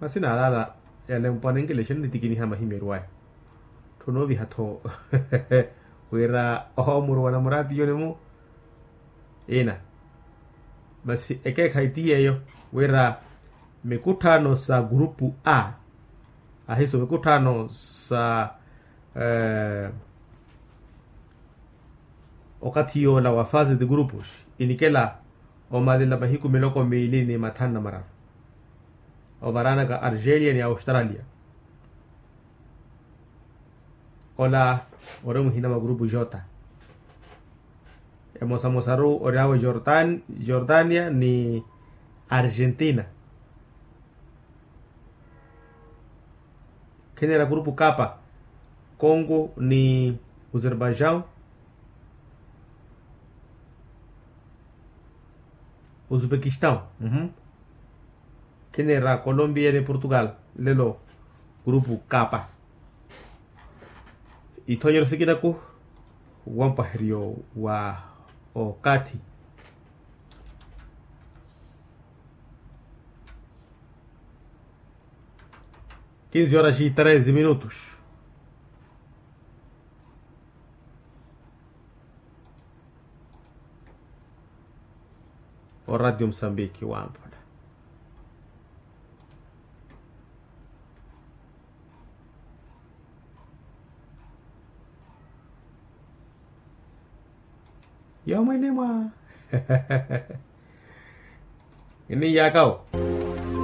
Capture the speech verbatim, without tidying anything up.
Masi naalaala yalempwa nenkelexeni nitikiniha mahimyeryo aya. Tthunooviha-tho wira omuruwa namuraatiyoni-mu. Ina masi ekeekhayi ti yeeyo wira mikutthaano sa gurupu a ahiso mikutthaano sa okathi yoola wa fase de grupos inikela omalela mahiku miloko miili ni mathanu na mararu ovaraanaka argelia ni australia. Ola ori muhina mwa grupu jota emosamosaru oriawe jordania ni argentina. Khinera grupu kapa kongo ni uzerbaijau uzbekistau. Khinera kolombiya ni portugal lelo grupu kapa. Ithonyero sikinaku wampaheryo wa okathi. Kinzi horas e treze minutos. Oradio musambiki wamphula. Yomwene mwa ini yakawo.